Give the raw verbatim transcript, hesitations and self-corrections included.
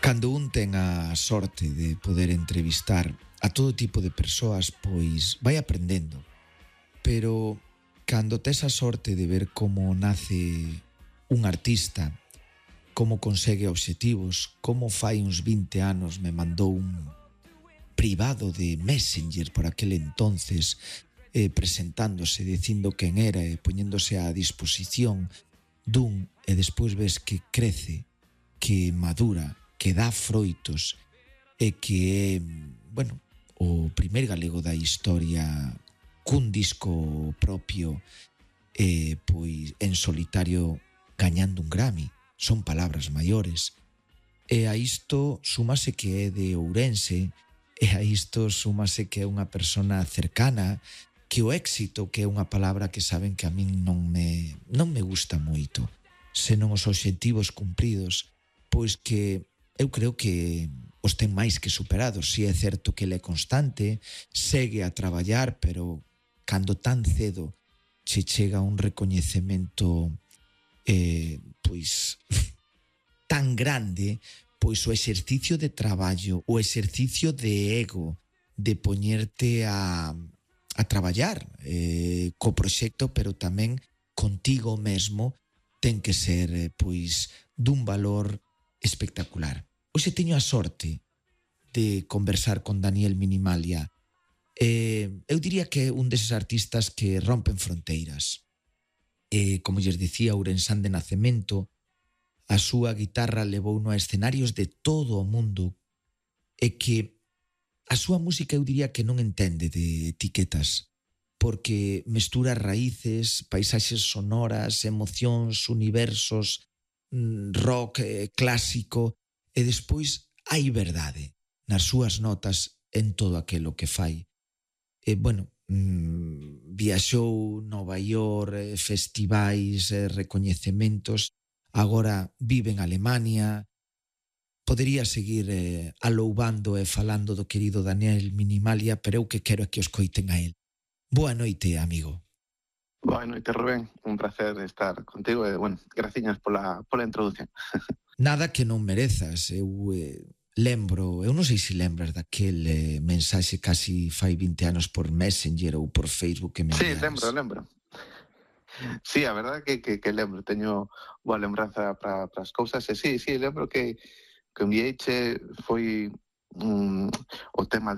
Cando un ten a sorte de poder entrevistar a todo tipo de persoas, pois vai aprendendo. Pero cando tes a sorte de ver como nace un artista, como consegue obxectivos, como fai uns vinte anos me mandou un privado de Messenger por aquel entonces, eh, presentándose, dicindo quen era e poñéndose á disposición dun, e despois ves que crece, que madura, que dá froitos e que é, bueno, o primeiro galego da historia cun disco propio e pois en solitario gañando un Grammy. Son palabras maiores. E a isto súmase que é de Ourense, e a isto súmase que é unha persona cercana, que o éxito, que é unha palabra que saben que a min non me, non me gusta moito, senón os obxectivos cumpridos, pois que eu creo que os ten máis que superados. Si é certo que ele é constante, segue a traballar, pero cando tan cedo che chega un recoñecemento eh, pois tan grande, pois o exercicio de traballo, o exercicio de ego, de poñerte a, a traballar eh, co proxecto, pero tamén contigo mesmo, ten que ser eh, pois dun valor espectacular. Hoxe teño a sorte de conversar con Daniel Minimalia. Eh, eu diría que é un deses artistas que rompen fronteiras. Eh, como lles dicía, ourensán de nacemento, a súa guitarra levouno a escenarios de todo o mundo e que a súa música eu diría que non entende de etiquetas, porque mestura raíces, paisaxes sonoras, emocións, universos, rock eh, clásico, e despois hai verdade nas súas notas en todo aquilo que fai. E, bueno, mmm, viaxou Nova York, eh, festivais, eh, recoñecementos, agora vive en Alemania. Podería seguir eh, aloubando e falando do querido Daniel Minimalia, pero eu que quero é que os coiten a él. Boa noite, amigo. Boa noite, Rubén. Un placer estar contigo e, bueno, graciñas pola, pola introducción. Nada que non merezas. Eu eh, lembro, eu non sei se lembras daquel eh, mensaxe casi fai vinte anos por Messenger ou por Facebook que me enviaras. Sí, lembro, lembro. Sí, a verdade que, que, que lembro, teño boa lembranza para as cousas, e sí, sí, lembro que, que envieiche foi um, o tema